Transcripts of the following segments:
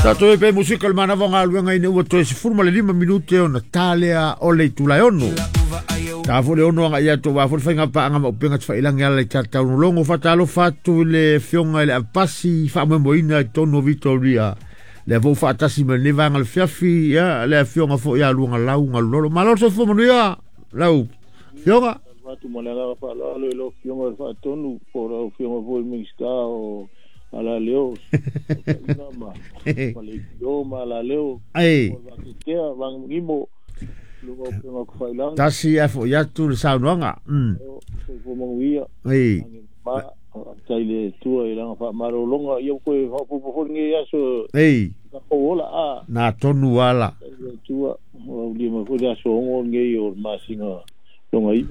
Tatou e pe musika le manava o galuega ina ua toe 15 minute ona talea o le itula e 6. Ta fo le 6 aga ia to wa fo le faiga paanga ma upenga tafailagi ala i tataunologo. Faatalofa atu i le afioga i le Apasi faamoemoeina i totonu o Vitoria. Lea foi ua faatasi mai lenei vaega o le fiafi, ia le afioga foi ia Luagalau Galulolo. Malo le soifua manuia lau afioga. Atu ma le agaga faaaloalo i lau Afioga i le Faatonu po o lau Afioga foi i le Minisita o Alaleo, Taina ma Leitio ma Alaleo, Ai. o le Vatetea, Vagimogimo, luga o upega o Tafailagi. Tasi ae foi atu le saunoaga. Soifua manuia. Ai. Ma faafetai i le Atua i lana faamalologa, ia ua toe faaopoopo foi lenei aso Ei. tatou ola a. Na tonu ala. Faafetai i le Atua, ua aulia mai foi le aso 6 lenei o le masina longa 9.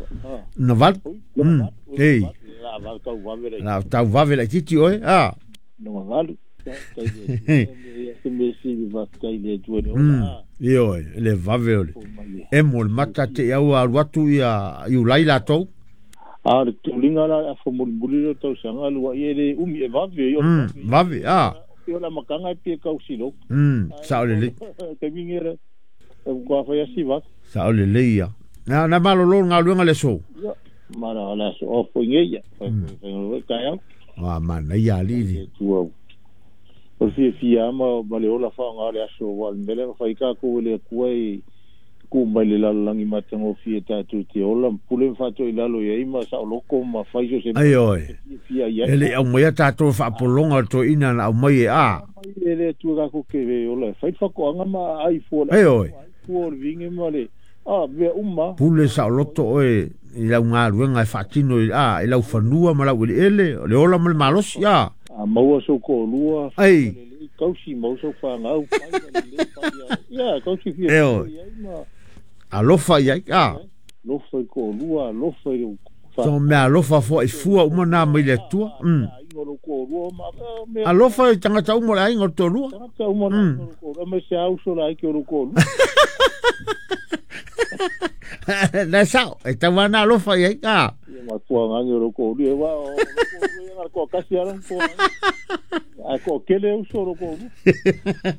Na valu. Longa 8. Ei. La valu tau vave la. La tau vave la titi oe. A. Longa 8. Faafetai i le Atua. Ia se mea sili faafetai i le Atua i le ola a. Ioe, le vave o le emo le mata te i au alu atu ia Iulai latou. A o le tuliga la le afa mulimuli lea o le tausaga lua'i e le umi e vave i o le Vave a. O le amataga e pei e tau siloki. Sao lelei. Taimi nei e matua fai lava si vave. Sao lelei ia. Na na malolo le galuega le aso. Ia, ma le aso off foi nei ia. Fai foi taeao. Ua manaia alii le. Atua. O le fiafia lava ma le ola faaaoga o le aso, aua o le mea lea na fai tatou e le Atua e tuu mai le lalolagi matagofie tatou te ola ma pule ma faatoilalo i ai ma saoloto ma fai so se mea Ai oe. fiafia i ai. E le i aumaia tatou e faapologa o le toeaina na aumai e a. Mai e le Atua tatou te ola e fai le faatoaga ma aai fua le Ai oe. fua o le vine ma le a mea uma. Pule saoloto oe i lau galuega e faatino i a i lau fanua ma lau eleele, o le ola ma le malosi a. A maua sou toalua, Ai. lelei, tausi mau sou fanau, fai ma lelei, fai ia, tausi E fiafia oe. i ai ma Alofa i ai a. alofa i toalua, alofa i lou So mea alofa foi fua uma na mai le Atua. aiga o lou toalua ma mea Alofa i tagata uma o le aiga o le toalua. tagata uma na aiga o lou toalua, ma se auso la aiki o lou toalua. Na sao, e tau ana alofa i ai a. Ia matua ngani o lou toalua, e wa o lou toalua ia ngara toakasi ala toa. Ai ko kele uso o lou toalua.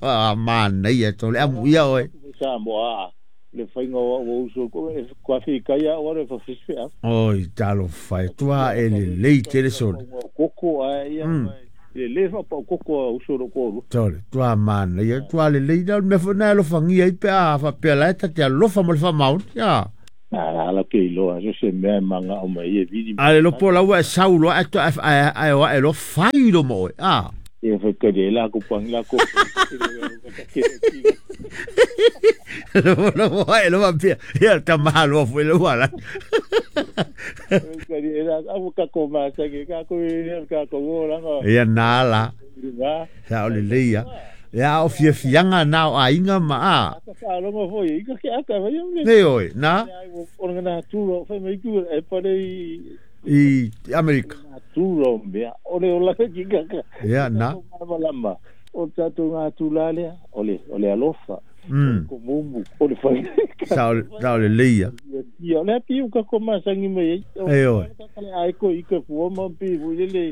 Ah, manaia to le amu ia oe. Sa mo a le faiga o au uso ko e kwa fi kai a o le fa a. Oi, talofa e tua e lelei tele sole. Koko a ia le le fa pa koko a uso lou toalua. Tole, tua manaia, tua lelei na mea foi na alofagia ai pe a faapea la e ta te alofa ma le faamaoni. Ia. Na la ke iloa so se mea e manga o mai e vili. A le lopo lau e sau loa e to e o e lo fai lo mo oe. A. E fa ka de la ko pang la ko. Lo lo e lo pia. Ia ta malo foi lo ala. Ka de la au ka ko ma sa ke ka ko e ka ko o la nga. Ia na la. Nga. Sa o lelei ia. Ia o fiafiaga na o aiga ma a. Ka faalogo foi i ka ke aka vai o le. Nei oe, na Ai o ngana turo fai mai ku e pare i i Amerika. turo mea o le ola ki ka ka. Ia na. Lama o tatou ngā tūlā lea, o le alofa, o mumu, o le whai. Sa o lelei ia. Ia, o le api u ka ko masangi mai ai. Ei oe. Ka ai ko i ka fua ma pi fu le le.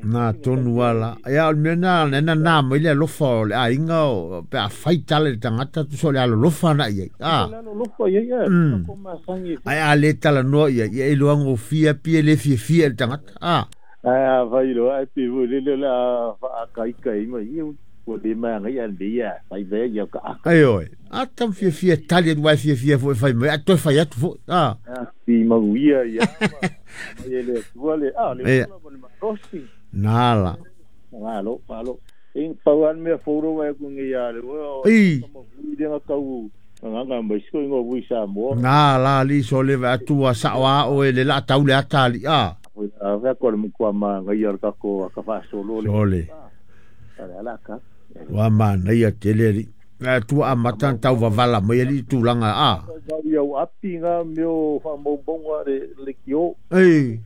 Na tonu ala. Ia o le mea na na na mai le alofa o le aiga o pe a fai tala le tagata tusa o le alolofa na i ai. A. Le alolofa i ai, ka ko masangi. Ai a le talanoa ia, ia e iloa gofia pia le fiafia i le tagata. A. Ai a fai loa ai pi fu le le la whaakaika i mai. Ia ua le mai ngai a le ia, fai vea ia ka aka. Ai oe. A tam fiafia tali atu ai fiafia foi fai mai. A toe fai atu foi. A. Pi manuia ia. Mai e le atua le, a le ola ma le malosi. Nā la. Malo, malo. E pau an mea fōro wai ku ngai a le o. Ei. Ui lenga kau nganga mai siko ingo ui Samoa. Nā la li so le va atua sa o a o e le la tau le atali. A. A vea ko le mukua ma ngai a le kako a ka whaasolo le. Sole. A le ala ka. Wa manaia tele ali. A tua a matan tau vavala mai ali tūlanga a. Ngau iau api ngā meo whaamaubonga le kio. Ei.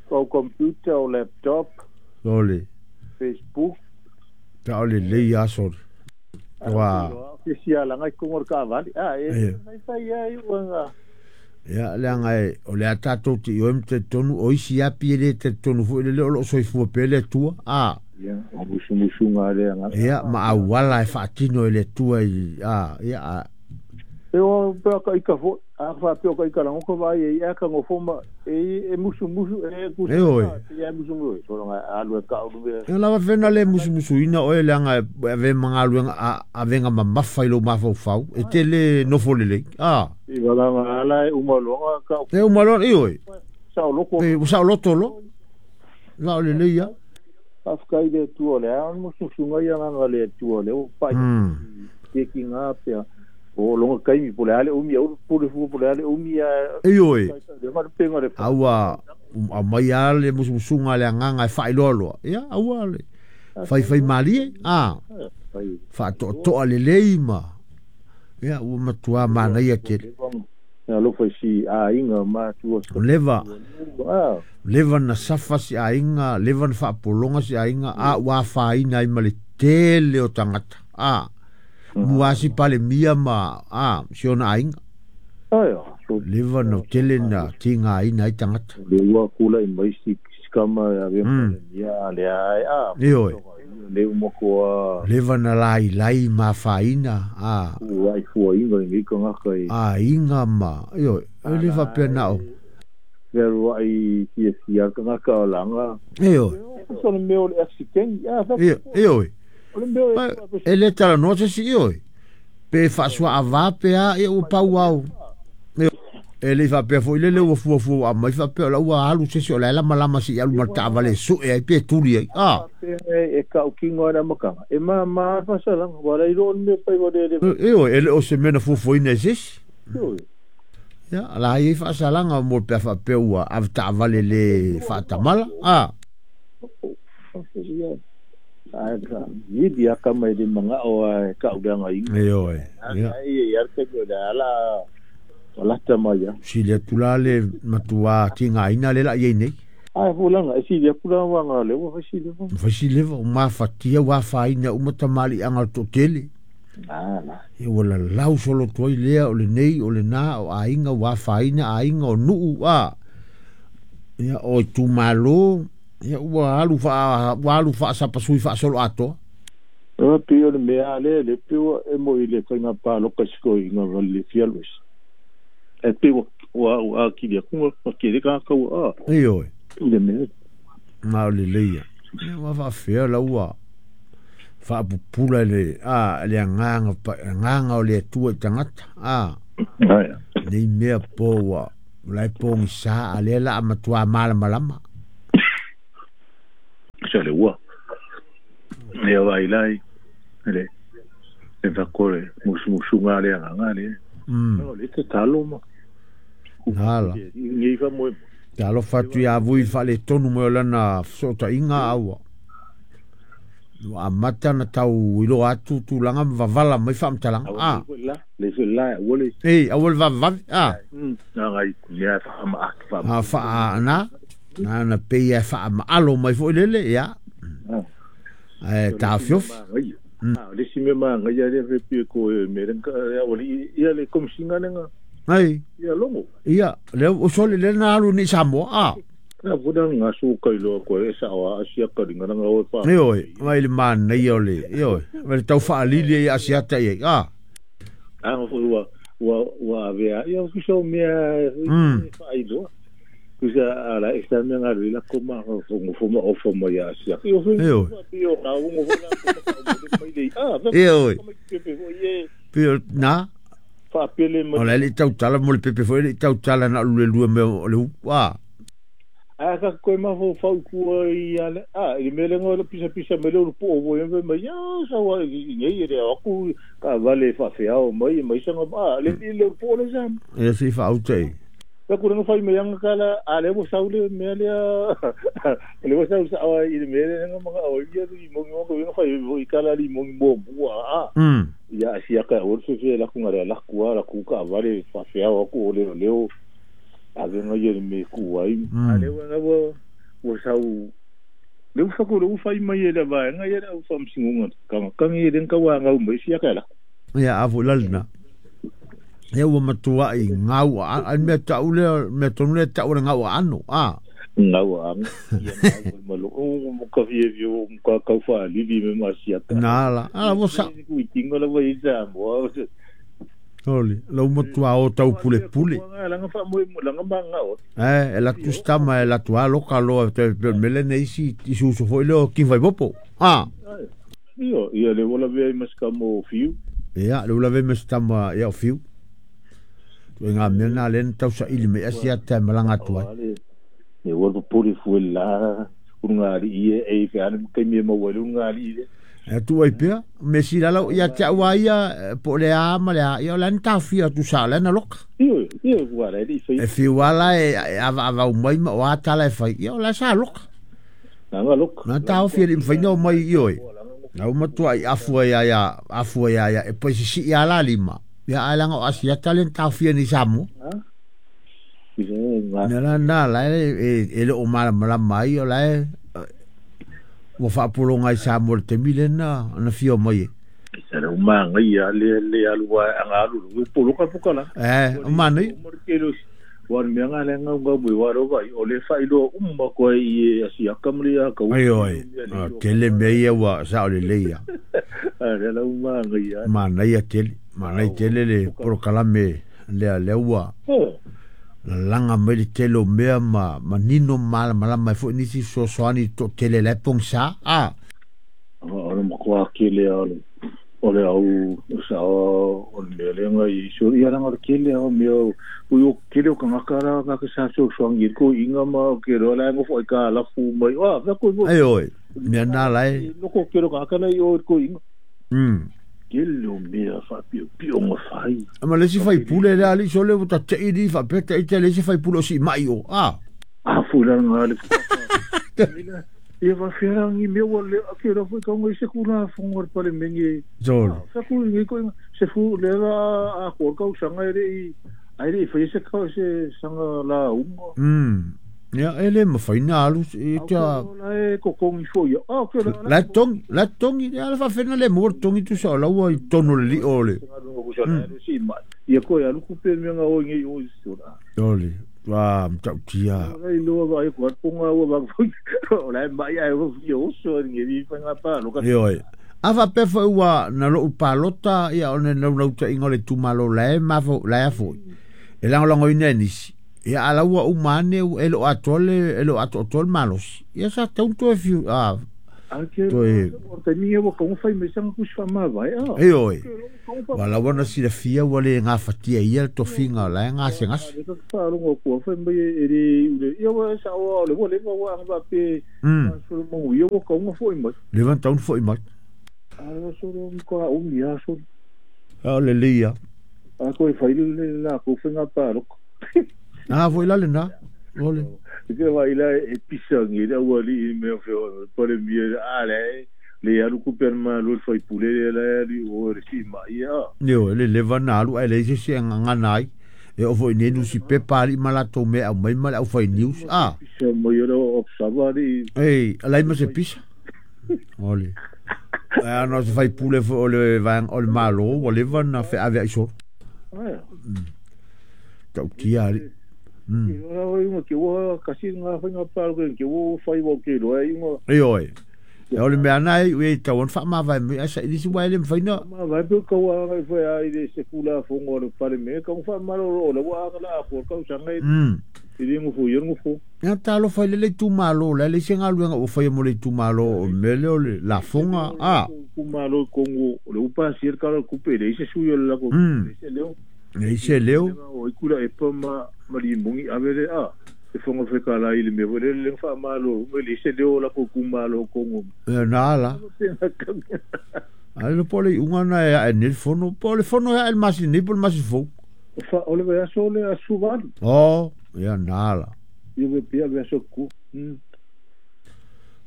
Kau computer o laptop. Sole. Facebook. Ta o le lei a sole. Wa. Ke sia langa i kongo ka vali. A e mai fai ai ua ngā. Ia le anga e o le a tātou te ioi te tonu o isi api e le te tonu foi le o lo soifua pe le atua. A. Ia, o musumusuga le agaga. Ia, ma auala e faatino e le Atua i a ia a E o pe ka ika fo a fa pe ka ika lango ko vai e ka ngofo ma e musumusu e ku E oi. e musumusu so nga alu e ka ulu e E lava fena le musumusuina oe leaga e ave magaluega avega mamafa i lou mafaufau e te le nofo lelei a i wala ala e uma loa ka e uma loa i oi sa loko e ua saoloto lo la o lelei ia Faafetai i le Atua o le a o le musumusuga ia agaga le Atua o lea ua pai ke ki ngā pea o longa kaimi po le a le umi au pule fua po le a le umi a E oi le ma penga le aua aumai a le musumusuga le agaga e faailoaloa ia aua le faifai malie a fai faatoatoa lelei ma ia ua matuā manaia tele alofa i si aiga ma tua leva ah leva na safa si aiga leva na faapologa si aiga a ua afaina ai ma le tele o tagata a muasi palemia ma a si ona aiga ai so leva na tele na tigaina ai tagata le ua kula i mai si kama ya ve ya le ai a E oi. Le uma ko leva na lailai ma afaina a ua i fua inga i ka ngaka i aiga ma ioe e le faapea na o veru ai fia fia ka ngaka o langa e oi so le mea o le accident ya fa e e oi o le mea o e le talanoa se si ioe pe faasuaavā pe a ia ua pau au e le faapea foʻi lele ua fuafua aumai faapea o la ua alu sesi o la e lamalama seʻi alu ma le taavale e suʻe ai pe tuli ai a e ka ukingo ana makanga e ma ma fasalanga wala i lo mea pai wa le le e oi e le o se mea na fuafuaina e sesi ia la ai faasalaga mo le pea faapea ua ave taavale le faatamala a ai ka ni dia ka mai le manga o ai ka uanga i e oi ia ai ia ke ko la la wala ta mai ya sili atu la le matuā tigaina le laʻi ai nei ai fulanga e sili pula wanga le wa sili fo fasileva o mafatia ua afaina uma tamaliʻaga o le toʻatele na na ia ua lalau soloto ai lea o lenei o lenā o aiga ua afaina aiga o nuu a ia o itumālō ia ua alu faa ua alu faasapasui faasolo atoa o pi o le mea le le pi o e mo i le fainga pa lo ka siko i ngā le fialwes e pi wa wa wa ki le ku ma ki le ka ka wa e oi le mea na o lelei ia ia ua faafea la ua faapupula le a le agaga agaga o le Atua i tagata a ai nei mea po ua la e pogisā a lea la amatuā malamalama sa le ua e vai lai le e va kore musumusunga le agaga le o le te talo ma Nala. Ngi fa mo Talofa atu ia vui faaletonu mai o lana fesootaiga aua ua amata na tau iloa atu tulaga ma vavala mai faamatalaga a la le se la ua le e aua le vavevave a na ngai mea fa ma fa a faa na na na pei e faamaalo mai foʻi lele ia ae taofiofi le si me ma ngai le fe pi ko me ren ka ya wali ia le komsinga lenga ai ia longo ia le o sole le na alu ni Samoa a na vuda nga su kai lo ko e sa wa asia ka ringa nga o fa e oi mai le manaia o le e oi mai le tau faalili ai asiata i ai a a ngo ua ua ua vea ia ku so mea fa ai lo ku sa ala e sa mea nga la ko ma ngo fo ma o fo ma ia asia yo E oi. yo ka ngo fo la ko ma le a E oi. pe fo ye pe na fa pele ma o le le tautala mo le pepe foi le tautala na lu le lua mea o le upu a a ka koe ma fo fau kua i ale a i mele ngo le pisa pisa mele o po o ye ma ya sa wa i ngai re aku ka vale fa fe ao mai mai sa a le le po le sa e si faauta e ka ku nga fai me yang kala a le mo saule me le le mo saule sa i mele nga mga o ia i mo ngo ko nga fai i kala li mo mo bua a ia sia ka o se fe la ku nga la ku la ku ka vale fa fe ao ku le le o a ve nga ye me ku ai a le wa wa wa sau le fa ku le fa mai le va nga ye la fa msingu ka ka ngi den ka wa nga mo sia ka la ia a fo lalna ia ua matuaʻi gau a mea taʻu lea mea tonu lea taʻu le gau aano a Ngau anga ia ngau malo o mo ka fie fie o ka ka fa lili me masiata. Nala ala vo sa ku tingo la vai sa mo. Oli lo mo tua o tau pule pule. Langa fa mo langa manga o. E la tu stama e la tua lo ka lo te mele nei si isu su foi lo ki vai bopo. Ah. Io ia le vola ve mas ka mo fiu. Ia le vola ve mas tama ia fiu. Tu nga me na len tau sa ili me asia te malanga tua. E ua puri fuela unga i e fe anu ke me mo unga i e tu ai pia me si la ia te ua ia po le a ma le a ia la nta fia tu sa la na lok io io ua la i e fi wala e ava ava mai ma wa tala e fai ia la sa lok na nga lok na ta o fia le fai no mai io e na uma tua i afua ia ia afua ia ia e po si ia la lima ia ala ngo asia talen ta fia ni samu. Na na la e le o mala mala mai o la e ua faapologa i sa mo le temi lena na fia mai e. Sa o manga ia le le alua anga alu lu polo ka puka la. E o manai. Wa me anga le nga nga bui wa ro vai o le fa ilo umma ko i asia kamri a ka. Ai oi. Tele me ia wa sa o le le ia. A le la umanga ia. Manai a tele, manai tele le porokalame le le ua. Langa mai le tele o mea ma nino mala mala mai foi nisi sosoani to tele le pong sa a o le makoa kele o le au sa o le lenga i so ia langa le kele o mea o yo kele o kangaka la ka sa so soangi ko inga ma ke ro la ngo foi ka la fu mai o va ko ai oi mea na lai no ko kele kangaka la i o ko inga kele o mea fa pio pio ngo fai. Ma le si fai pule le ali so le ta te i fa pe te te le si fai pule si mai o a. A fu la nga le. Ia va fera ngi me wa le ke ro foi ka ngo se kula fongo pa le mengi. Zol. Sa ku ngi ko se fu le la a ko ka sanga re i ai re foi se ka se sanga la ungo. Ia ele ma fai na alu i ta la e ko kongi fo ia. Ah ke la tong la tongi ala fa fena le mor tongi tu sa la ua i tono le ole. Ia ko ia lu ku pe me nga o ngi o so la. Ole. Wa mtau tia. Ai lo va ai ko ponga o va o la mai ai o fio so ngi vi fa nga pa lo ka. Oi. Ava pe fa ua na lo palota ia one na no ta ingole tu malo la ma fo la fo. E la longo inenisi. Ia ala ua umane e lo atole e lo atotol malos. Ia sa tau e fiu a toe o te ni o ko fai me sang ku fa ma vai a. E oi. Wala wana si le fia wale ngā fatia ia to finga la ngā se ngas. Fa lo ko fai me e le ia wa sa o le wale wa anga pe so mo ia ko ko foi mai. Le van taun foi mai. A so lo ko o mi a so. A le le ia. A ko fai le la ko fai ngā pa lo. Ah, voi la le na. Ole. Ke vai la e pisangi la wali me fe pa le mi a le le alu ku per ma lo fai pule le li o re si ma ia. Yo le le va na lu ele se se nga nai. E o foi ne nu si pe pali malato me au mai ma au fai news a. Se mo yo lo observa li. Ei, alai ma se pisa. Ole. A no se fai pule fo le van o le malo, o le van na fe ave iso. Ah. Tau tia ali. Ke ua kasi ngā whainga pāro ke ua whai wau ke roa inga. E oi. E ole mea nai ue tau an whaamawai me asa ilisi wai le mwhaina. Mawai pe kaua anga i whai ai le se kula whongo le pare me ka mwha maro o le wa anga la ako kau sanga i le ngufu i ngufu. Ia talo whai le le tūmalo la le se ngā luenga o whai mo le tūmalo o mele o le la whonga a. Tūmalo kongo o le upa sir karo kupe le ise suyo le lako. Le ise leo. Le ise leo. O ikura e pa ma mari mongi avere a e fonga feka la ile me vole le fa malo me le se leo la ko kumalo kongo e na la ai lo pole unga na e ne fono pole fono ya el masi ni pole masi fo fa ole ve so le a suval oh ya na la yo ve pia ve so ku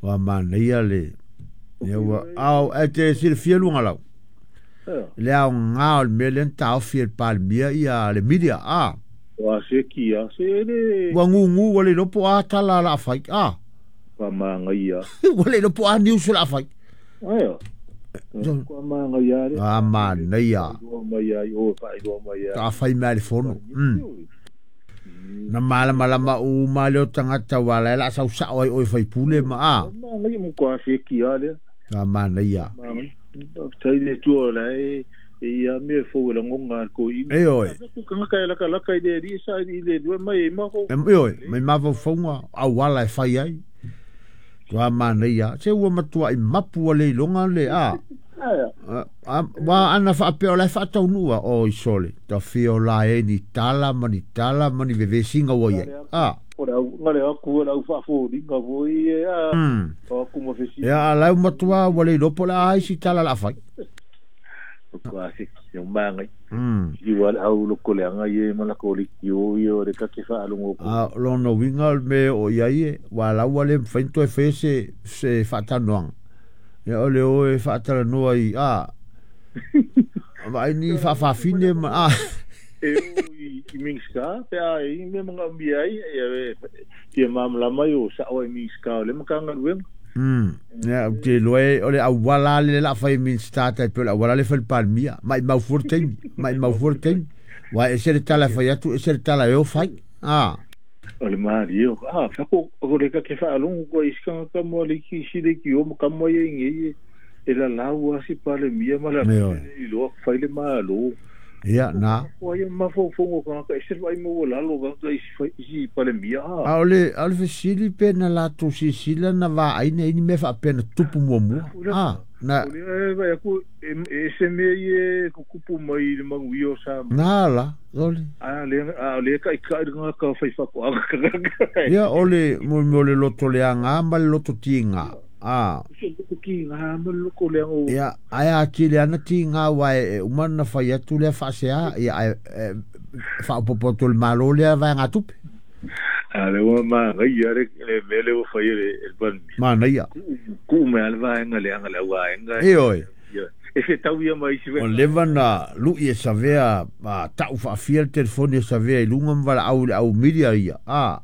wa ma ne ya le ya wa au e te sil fielu ngala le au ngao me le ta fiel palmia ia le media a wa se kia se le wa ngungu wa le lopo a tala la fai a wa manga ia wa le lopo a news la fai ai wa manga ia le a ma nei ia wa mai ia o fai wa mai ia ta fai mai le fono. Na malamalama uma le o tagata ua la e la'a sausa'o ai oe faipule ma a. Manaia mo ko afeki a lea. A manaia. Faafetai le Atua o la e e ia mea fou e lagoga a le toeaina. Ioe. Ku tagata e lakalaka i le alii e saili i le Atua e mai ai mafaufauga. Ioe, mai mafaufauga auala e fai ai. Matua manaia. Se ua matuai mapu ua le iloga le a. Ua ana faapea o la e faataunuu oi sole. Tafia o la e ni tala ma ni tala ma ni vevesiga ua i ai. A. O le au, na le aku o le au faafoliga foi e a. O aku ma fesili. Ia, a la e ua matua ua le iloa po o le a isi tala o le a fai. O ko se ki o mangai. I wa le au loko leaga ia ma lako lekiō ia o le ta te faalogo ko. A o lona uiga o le mea e oo i ai e, ua la ua le mafai ona toe faia se se faatalanoaga. Ia o le o e faatalanoa i a vaai ni faafafine ma a. E o i Minista pe a e i mea manaomia ai ia e fia malamalama ai o sa'o ai Minista o le Matagaluega. Ia, ou te iloa e o le auala lava lea o le a fai e Minista tai pei o le auala lea e fai e le Palemia. Maimau fua le taimi, maimau fua le taimi. Aua e ese le tala e fai atu, ese le tala e o fai. A. O le malie o a fako o le ka te faalogo koa i isi tagata mo le isi isi leitio ma tama ia i nei e lalau lava si Palemia ma le Ioe. iloa fai le Malo. Ia, na. Ko ai mafaufauga o tagata ese le vaai maualalo o tagata isi fai isi Palemia a. A o le, a o le fesili pe na latou silasila na vaai nei ni mea faapea na tupu muamua. A, na. O lea e vaai atu e ese mea ia e tutupu mai i le manuia o Samoa. Na la, ole. A lea, a o lea e taitai le tagata fai faatoaga tagata. Ia, o le, mo mea o le loto leaga ma le loto tiga. A. Se loto tiga ma le loto leaga o. Ia, ae atili lava na tiga aua e uma ona fai atu lea faasea, ia ae e faaopoopo atu e le Malo lea vaegatupe. A lea ua manaia le mea lea ua fai e le Palemia. Manaia. Tuu mai lava le vaega leaga le au vaega. Ioe. E fetau ia ma isi Ua leva ona lui e Savea ma tau faafia le telefoni a Savea i luga ma valaau i le au media ia. A,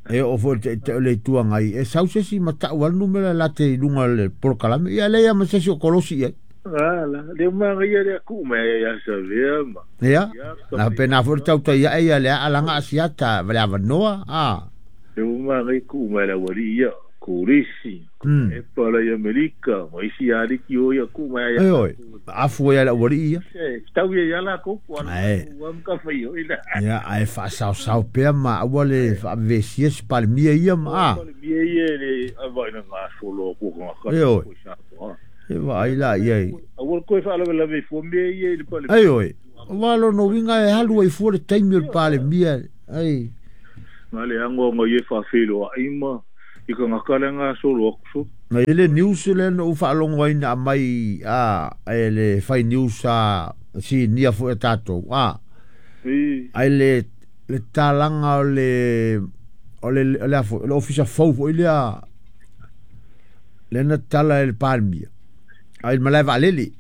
e oo foi i le Taitai o le Itu Agai, e sau se isi ma tau lava le numera e late i luga o le polokalame. Ia, e leai lava ma se isi o kolosi i ai. Ala, lea manaia lea tuu mai ia Savea ma. Ia, na faapena foi le tautai ae ia le alaga Asiata ma le avanoa. A. Lea manaia tuu mai le aualii ia, Kolisi, Epa la i Amerika, ma isi aliki o ia tuu mai ia. Ioe, afu ai le aualii ia. E tau ia ia latou, po o Ae. ua ma fai o ila. Ia, ae faasaosao pea ma aua le faavevesia se Palemia ia ma a. Palemia ia le vaai na gasolo atu o tagata. Ioe. I Samoa. E vaai la i ai. Aua le toe faalavelave fua mea ia i le Palemia. Ioe. Aua lona uiga e alu ai fua le taimi o le Palemia. Ai. Na le agoaga ia e faafeiloai ma i tagata le gasolo atu so. Na i le news lea na ou faalogo ai na aumai a e le fai news a sinia foi a tatou a. Ai le le talaga o le o le o le a foi o le ofisa fou foi lea lea na tala e le Palemia ai le malae vaalele.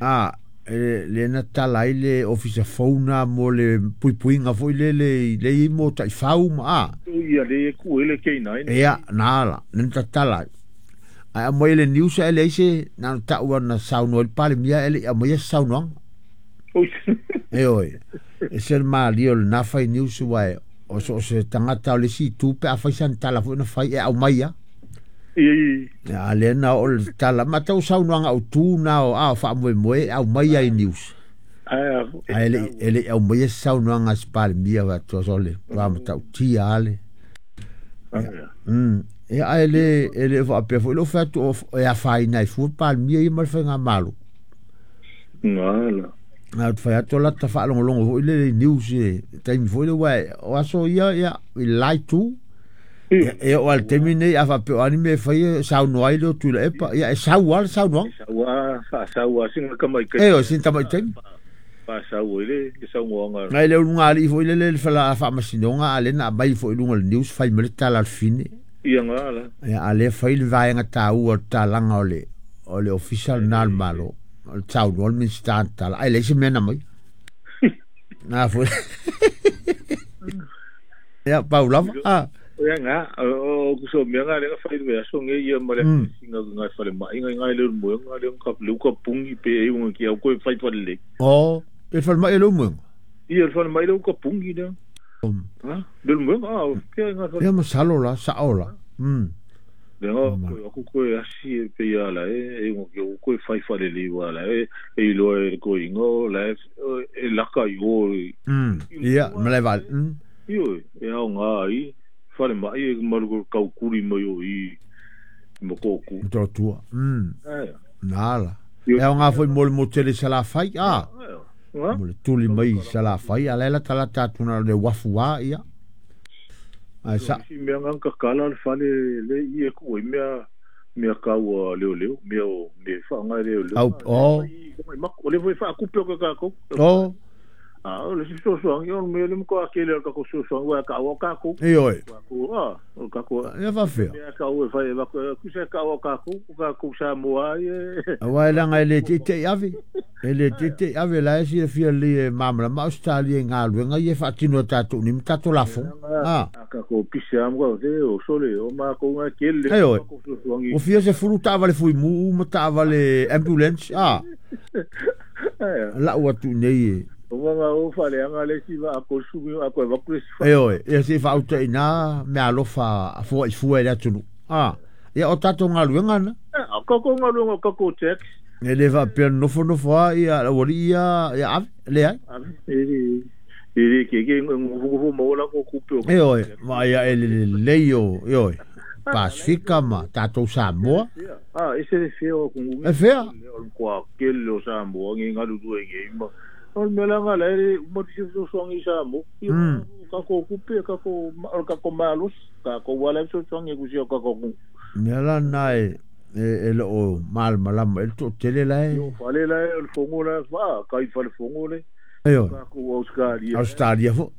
A e lea na tala ai le ofisa fou na mo le puipuiga foi lele i le i mo taifau ma a. Ia le e ku ele K9. Ia, na ala, lea na tatala ai. Ae aumai e le news ae leai se na ona tau na saunoa ai le Palemia ae le i aumaia se saunoaga. Ioe, e se le malie o lena fai news aua e o so o se tagata o le isi itu pe a fai sana tala foi na fai e aumai lava. Ia, a lea na oo le tala, ma tau saunoaga autu na o a o faamoemoe e aumai lava i news. Ae e le i aumaia se saunoaga a se Palemia faatoa sole, matua matautia lava le. Ia, ae le e le faapea foi lou fai atu o e afaina ai fua le Palemia ia ma le faigamalo. Ngala. A ou te fai atu o lata faalogologo foi lele i news i le taimi foi lea aua o aso ia ia i le la itu. Ia, e oo lava i le taimi lenei a faapea o a ni mea e fai e saunoa ai le o Tuilaepa, ia e sau lava le saunoaga. E sau lava, faasau lava sina tamaitai. Ioe, sina tamaitai. Faasau ai le saunoaga. Nai le ulugalii foi lele le faamasinoga a lea na aumai foi i luga o le news fai mai le tala a le fine. Ia ngala. Ia, a lea fai le vaega taua o le talaga o le o le ofisa lena a le Malo. O le saunoa le Minisita na tala, ae leai se mea na aumai. Na foi. Ia, pau lava. A. Ia nga, o ku so mea nga le nga fai le aso nge ia ma le singa nga fale mai nga nga le mo nga le ka le ka pungi pe e unga ki au ko fai fale le. O, e fale mai le mo. Ia fale mai le ka pungi le. Le mo a ke nga Ia masalo la sa'o la. Le nga ko aku ko e asi e pe ia la e e ngo ke ko e fai fale le wa la e e lo e ko ingo la e laka i o. Ia ma le val. Io e au ngā i fale mai e malu ko kau kuri mai o i mo ko ku. To tua. Nā la. E au ngā foi mo le mo tele sala fai a. Mo le tuli mai sala fai a lela tala tatu na le wafu a ia. Ai sa. Si mea ngā kakala le fale le i e ku mea mea kau leo leo mea o me whaangai leo leo. Au o. O le foi whaakupe o ka kākou. O. A o le si sosoangi o me le mo a kele ka ko sosoangi wa ka o ka ko. E oi. Ko a o ka ko. Ia fa fea. Mea ka o e fai va ko ku se ka o ka ko ka ko sa mo ai. Awa e langa e le te te ave. E le te te ave la e si e fia li e mamla ma Australia ngā luenga i e whaatino tātou ni mtato lafo. A ka ko pise am ko te o sole o ma ko ngā kele. E oi. O fia se furu tāvale fui mu ma tāvale ambulance. A. La ua tu nei e. O ngā o whale anga le si wa ako sumi ako e waku si E oi, ia se whauta i nā mea alofa a fua i fua e le atunu. A, ia o tātou ngā luenga na. A kako ngā luenga kako tax. E le wha pia nofo nofo a ia wali ia ia ave, le ai. Ave, e le ke ke ngufu maola ko kupe o. E oi, ma ia e le leio, e oi. Pasifika ma tātou Samoa. A, e se le fea o kungu. E fea? O kua kele o Samoa, ngi ngalu tue ngi ima. O le mea langa la e uma ti se sosoangi sa mo. Ka ko kupe, ka ko ka ko malus, ka ko wala sosoangi ku si ka ko ku. Mea la nai e lo o mal malama e to tele la e. Yo fale la e o fongo la fa, ka i fale fongo le. Ayo. Ka ko Australia. Australia fo.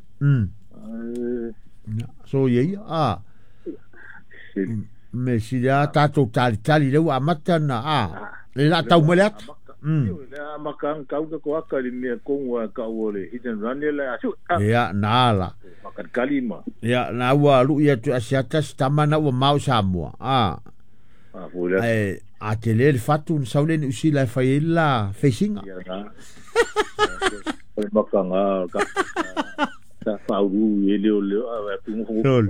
So ye a. Me si la tātou tali tali le ua amata na a. Le la tau mele ata. Le makang kau ka ko aka le mea kongo a kau o le hit and run le asu. Ia nā la. Makan kalima. Ia nā ua lu ia tu asiata tama na ua mau Samoa. A. A fula. E a te le fatu na saule ni usila e fai la facinga. Ia nā. O le makanga ka. Ta fauru e leo leo a tungu ho.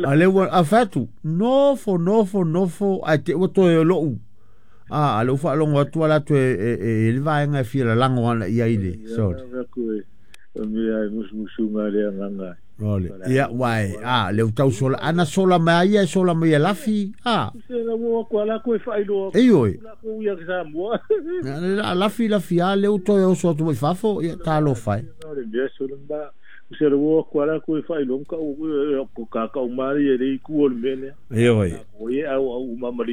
A le ua a fatu. Nofo nofo nofo a te ua toe lou. A le ufa longo atu ala tu e le vaenga e fia la lango ana ia ile. Sorry. Mea e musumusunga le anganga. Role. Ia wai a le utau sola ana sola mai ia sola mai lafi. A. Se la mo ko ala ko e whailoa. E oi. La ko ia sa moa. La lafi lafi a le uto e oso atu mai fafo ia talo fai. Le mea sola mba. Se la mo ko ala ko e whailoa ka o ko ka ka umari e le ku o le mele. E oi. Ko e au au mamari